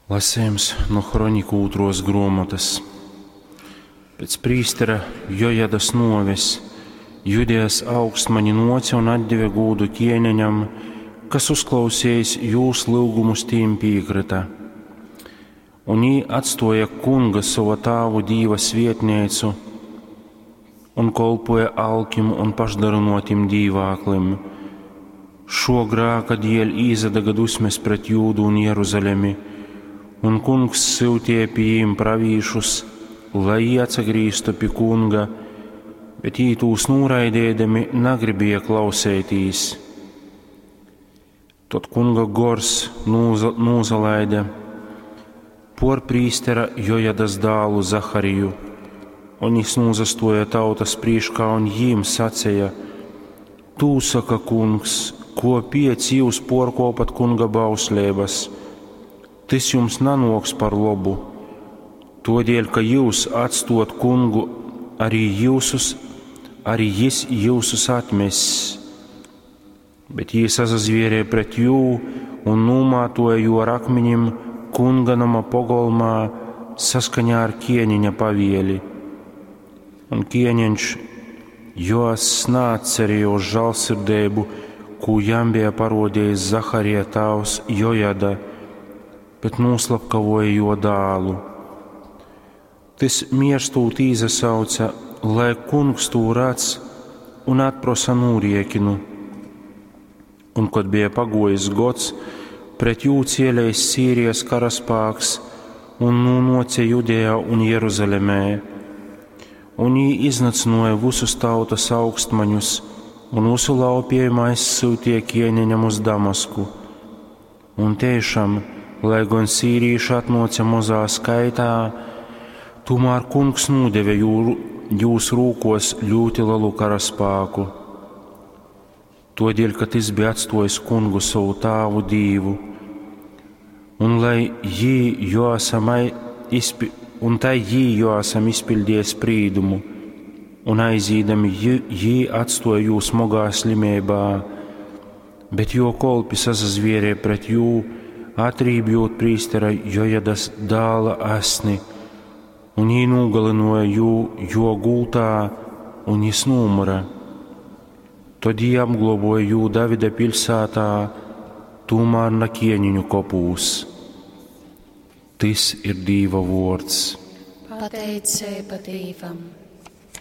Lasejums nu Hroniku ūtruos gruomotys. Pēc prīstera Jojadas nuoves Judejas augstmaņi nuoce un atdeve gūdu ķieneņam, kas uzklausejis jūs lyugumus tīm pīkryta. Un jī atstuoja kunga sova tāvu dīva svietneicu un kolpoja alkim un pašdarynuotim dīvāklim. Šuo grāka dieļ īsadaga dusmes pret Jūdu un Jeruzalemi, un kungs syutieja pi jīm pravīšus, lai jī atsagrīztu pi kunga, bet jī tūs nūraideidami nagribieja klauseitīs. Tod kunga gors nūza, nūsalaide puor prīstera Jojadas dālu Zahariju, un jis nūsastuoja tautas prīškā un jīm saceja: Tū saka kungs, kuopiec jius puorkuopat kunga bausleibys? Tys jums nanuoks par lobu. Tuodieļ, ka jius atstuot kungu, arī jiusus, arī jis jiusus atmess. Bet jī sasazvierēja pret jū un nūmātuoja jū ar akminim kunga noma pogolmā saskaņā ar ķieniņa pavieli. Un ķieniņš Joass naatcerējos žālsirdeibu, kū jam bija parodējis Zaharija tāvs Jojada, bet nūslapkavoja juo dālu. Tys mierstūt īsasauca, lai kungs tū radz un atprosa nūriekinu. Un, kod bija paguojis gods, pret jū cielēs Sīrijas karaspāks un nūnuoce Judejā un Jeruzalemē. Un jī iznycynuoja vysus tautas augstmaņus un vysu laupiejumu aizsyutīja ķieneņam uz Damasku. Un tiešām, lai gon sīrīši atnuoce mozā skaitā, tūmār kungs nūdeve jū, jūs rūkos ļūti lelu karaspāku. Todēļ, ka tys bija atstuojis kungu sovu tāvu dīvu, un lai jī Joasam izpi, un tai jī Joasam izpildīja sprīdumu, un aizīdami jī, jī atstoja jū smogā slimībā, bet jo kolpi sasazvierēja pret jū, atrībjot prīstera Jojadas dāla asni, un jī nūgalinoja jū jo gultā, un jis nūmyra. Tod jī apgloboja jū Davida piļsātā, tūmār na ķieniņu kopūs. Tys ir Dīva vuords. Pateiceiba Dīvam!